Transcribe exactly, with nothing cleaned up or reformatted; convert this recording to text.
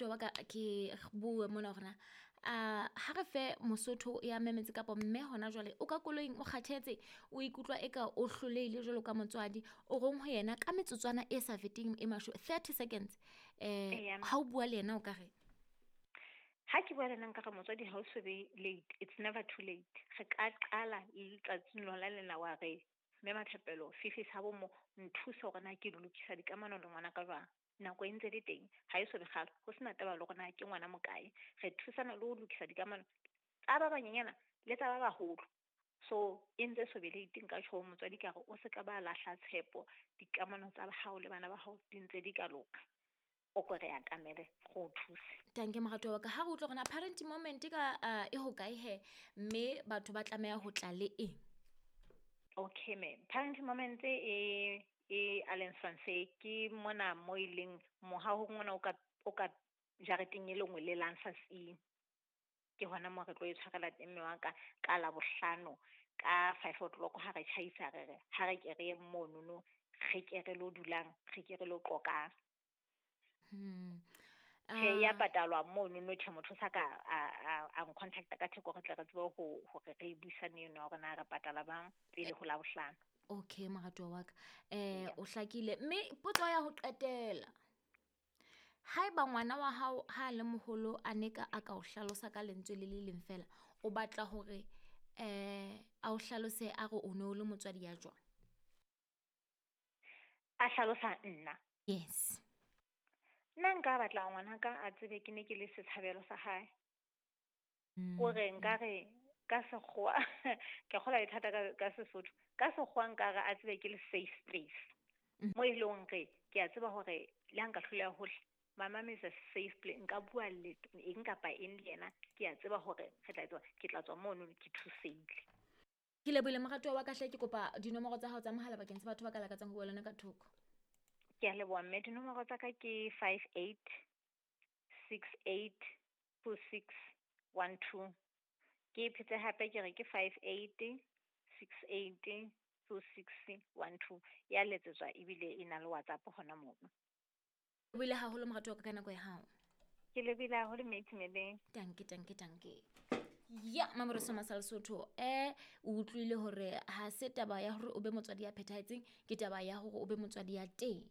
Moratuwa wa ka, ke bue mona hore na a ha re fe Mosotho ya memetse kapa mme hona jwale o ka koloing, o kgathetse, o ikutlwa eka o hlolehile jwalo ka motswadi. O reng ho yena ka metsotswana e sa feteng e masho thirty seconds? Eh, ha o bua le yena o ka re? Ha ke bua le yena nkare motswadi ha o so be late, it's never too late. Re ka qala le letsatsing lona lena wa re mme Mathapelo fifi sa bo mo nthuse hore na ke lokisa dikamano le ngwana ka jwang. Nako e ntse le teng, ha e so be kgale, ho sena taba le hore na ke ngwana mokae. Re thusana le ho lokisa dikamano tsa ba banyenyana le tsa ba baholo. So e ntse so be late, nka tjho ho motswadi ka re o se ka ba lahla tshepo, dikamano tsa hao le bana ba hao di ntse di ka loka. O ko re atamele re o thuse. Tanke moratuwa wa ka, ha re utlwe hore na parenting moment ka uh, e hokae he, mme batho ba tlameha ho tla le eng? Okay me, parenting moment e e Allen Francis ke mona mo e leng mohahong ona o ka o ka jareteng e le nngwe le Lansas. Ke hona mo re tlo e tshwarela teng mme wa ka ka Labohlano ka five o'clock ha re tjhaisa, re re ha re ke re ye monono, re ke re lo dulang, re ke re lo qoqang. Hmm. Tjhe, ya Ah, patalwa monono. Tjhe, motho sa ka a a a ncontacta ka theko, re tle re tsebe ho hore re buisane eno ya hore na re patala bang pele ho Labohlano. Okay moratuwa wa ka, eh Eya. o hlakile. Mme potso ya ho qetela, haeba ngwana wa hao ha a le moholo a ne ka a ka o hlalosa ka lentswe le le leng fela, o batla hore eh a o hlalose a re o ne o le motswadi ya jwang? A hlalosa nna? Yes. Nna nka batla ngwanaka a tsebe ke ne ke le setshabelo sa hae. Kore nkare ka sekgowa, ke kgolwa e thata ka ka Sesotho. Ka sekgowa nkare a tsebe ke le safe space. Mm. Mo e leng hore ke a tseba hore le ha nka hloleha hohle, my mom is a safe place. Nka bua le eng kapa eng le yena, ke a tseba hore re tla tswa, ke tla tswa mono ke thusehile. Ke lebohile moratuwa wa ka hle, ke kopa dinomoro tsa hao tsa mohala bakeng sa batho ba ka lakatsang ho bua le wena ka thoko. Ke a leboha mme, dinomoro tsa ka ke five eight six eight two six one two. Ke phete hape ke re ke five eight six eight two six one two. Ya letsetswa ebile e na le WhatsApp hona mono. Lebohile haholo moratuwa wa ka ka nako ya hao. Ke lebohile haholo mme Itumeleng. Tanke, tanke, tanke. Ya Mamoresa Masa Lesotho, eh o utlwile hore ha se taba ya hore o be motswadi ya phethahetseng, ke taba ya hore o be motswadi ya teng.